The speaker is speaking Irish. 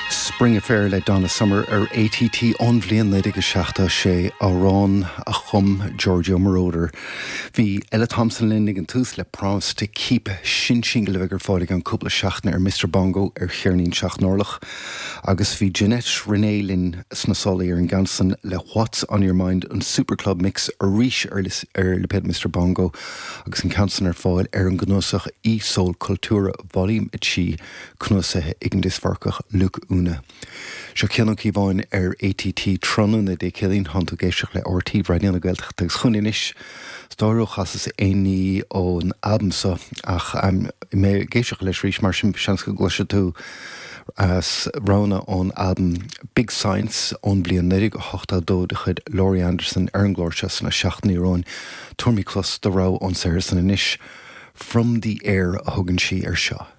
Spring Affair le Donna Summer ar ATT ón bhliain 1976, amhrán a chum Giorgio Moroder. Bhí Ella Thompson linn ag an tús le Promise to Keep, sin singil a bheidh ar fáil i gceann cúpla seachtaine ar Mr Bongo ar cheirnín Seacht nOrlach. Agus bhí Ginette Rena linn sna sálaí ar an gceann san le What's On Your Mind, an Super Club Mix arís ar lipéad Mr Bongo agus an ceann san ar fáil ar an gcnuasach E-Soul Cultura Volume 3 cnuasaithe ag an Diosbharcach Luke Una. Seo Cian Ó Cíobháin ar ATT tráthnóna Dé Céadaoin, tánn tú ag éisteacht le RTÉ Raidió na Gaeltachta agus chugainn anois is dóigh ó chasas aon ní ón albam seo ach mé ag éisteacht leis arís mar sin seans go gcloisfidh tú as roghanna ón albam Big Science ón bhliain 1982 de chuid Laurie Anderson ar an gclár seo sna seachtainí romhainn. Tabharfaimid clos do rogha ón saothar san anois. From the Air a thugann sí air seo.